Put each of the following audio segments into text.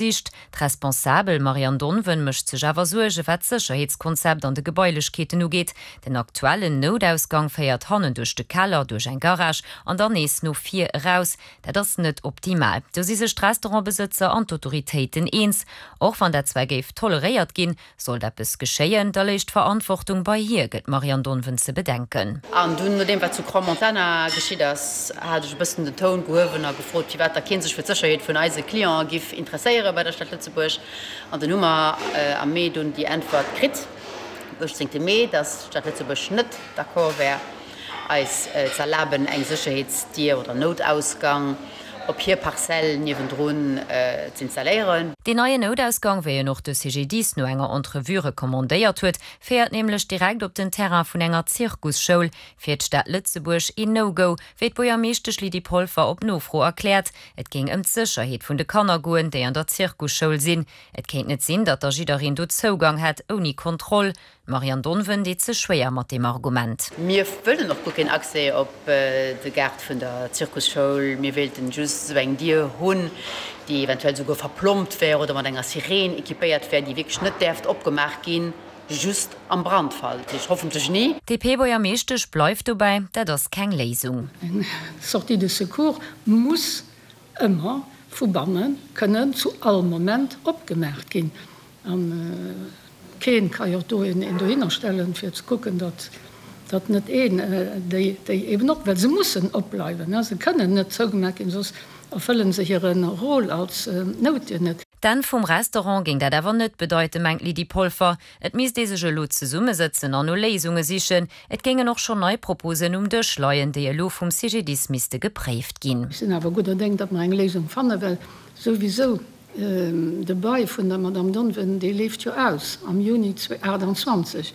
Sicht. D'Responsabel Marianne Donven mécht sech awer Suerge wat d'Sécherheetskonzept an de Gebailechkeeten ugeet. Den aktuellen Noutausgang féiert hannen duerch de Keller, duerch eng Garage an dann nees no vir eraus. Dat ass net optimal. Do si sech d'Restaurantbesëtzer an d'Autoritéiten eens. Och wann dat zwar géif toleréiert ginn, Sollt eppes geschéien, da léich d'Verantwortung bei hir, gëtt d'Marianne Donven ze bedenken. An dunn, nodeem wat zu Crans-Montana geschitt ass, hat ech e bëssen den Toun gehuewen a gefrot, firwat da kee sech fir d'Sécherheet vun eise Clientë giff interesséiere bei der Stad Lëtzebuerg. An dunn hu mer am Mee dunn déi Äntwert kritt, um 18 Mee, dass d'Stad Lëtzebuerg net d'accord wär, eis z'erlaben, eng Sécherheetsdier oder Noutausgang op hir Parzell niewendrun z'installéieren. Deen neien Noutausgang, wéi en och de CGDIS no enger Entrevue recommandéiert huet, féiert nämlech direkt op den Terrain vun enger Zirkusschoul. Fir d'Stad Lëtzebuerg een No-Go, wéi d'Buergermeeschtesch Lydie Polfer op Nofro erkläert. Et géing ëm d'Sécherheet vun de Kanner goen, déi an der Zirkusschoul sinn. Et kéint net sinn, datt da jiddereen do Zougang hätt, ouni Kontroll. D'Marianne Donven deet sech schwéier mat deem Argument. Mir wëllen och guer keen Accès op de Gaart vun der Zirkusschoul. Mir wéilten just esou eng Dier hunn, déi eventuell souguer verplombt wär oder mat enger Sireen equipéiert wär, déi wierklech net däerft opgemaach ginn, just am Brandfall, dat heescht hoffentlech ni. D'DP-Buergermeeschtesch bleift dobäi, Dat ass keng Léisung. Eng Sortie de secours muss ëmmer vu banne kënnen zu all Moment opgemaach ginn. A keen ka jo do een dohinner stellen, fir ze kucken, datt datt net een déi déi eben op, well se mussen opbleiwen, se kënnen net zougemaach ginn, soss erfëllen se hire Rôle als Noutdier net. D'Enn vum Restaurant géing dat awer net bedeiten, mengt d'Lydie Polfer. Et misst ee sech elo zesummesëtzen an no Léisunge sichen. Et géingen och schonn nei Proposen um Dësch leien, déi elo vum CGDIS misste gepréift ginn. Ech sinn awer gudder Déng, datt mer eng Léisung fannen, well souwisou De Bail vun der Madame Donven, dee leeft jo aus am Juni 2028.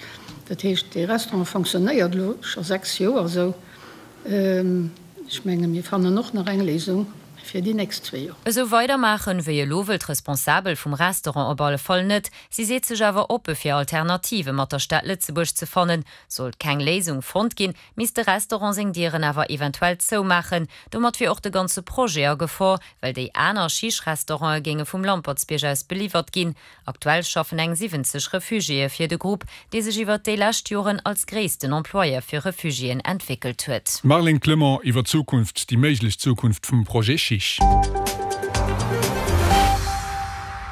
Dat heescht, dee Restaurant fonctionnéiert elo scho 6 Joer esou. Ech menge mir fannen och nach eng Léisung fir déi nächst zwee Joer. Esou weidermaachen wéi elo wëll d'Responsabel vum Restaurant op alle Fall net. Si seet sech awer oppe fir Alternative mat der Stad Lëtzebuerg ze fannen. Sollt keng Léisung fonnt ginn, misst de Restaurant seng Dieren awer eventuell zoumaachen. Domat wier och de ganze Projet a Gefor, well déi aner Chiche-Restaurante géinge vum Lampertsbierg aus beliwwert ginn. Aktuell schaffen eng 70 Refugiéë fir de Grupp, dee sech iwwert déi lescht Joren als gréissten Employeur fir Refugiéen entwéckelt huet. D'Marlène Clement iwwer d'Zukunft, déi méiglech Zukunft vum Projet Chiche. Et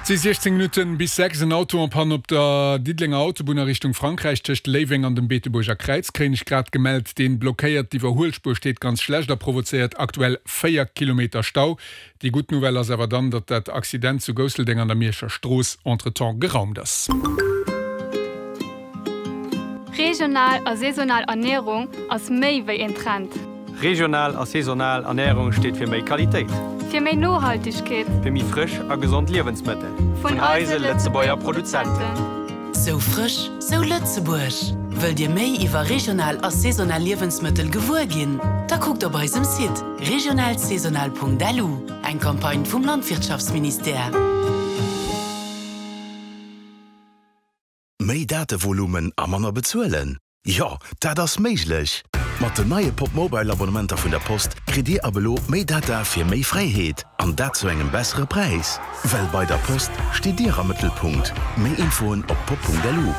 si 16 Minutten bis 6. En Auto en panne op der Diddelenger Autobunn a Richtung Frankräich tëscht Léiweng an dem Beetebuerger Kräiz kréien ech grad gemellt. Deen blockéiert d'Iwwerhuelspuer, steet ganz schlecht a provozéiert aktuell 4 Kilometer Stau. Déi gutt Nouvelle ass awer dann, datt dat Accident zu Gousseldeng an der Mierscher Strooss entretemps geraumt ass. Regional a saisonal Ernierung ass méi wéi een Trend. Regional a saisonal Ernärung steet fir méi Qualitéit. Fir méi Nohaltegkeet. Fir méi frësch a gesond Liewensmëttel. Vun eise Lëtzebuerger Produzenten. Sou frësch, sou Lëtzebuerg! Wëllt Dir méi iwwer regional a saisonal Liewensmëttel gewuer ginn? Da kuckt op eisem Site regionalsaisonal.lu, eng Campagne vum Landwirtschaftsministère. Méi Datevolumen a manner bezuelen? Jo, dat ass méiglech! Mat den neie Popmobile Abonnementer vun der Post kritt Dir ab elo méi Data fir méi Fräiheet, an dat zu engem bessere Präis. Well bei der Post steet Dir am Mëttelpunkt. Méi Infoen op pop.lu.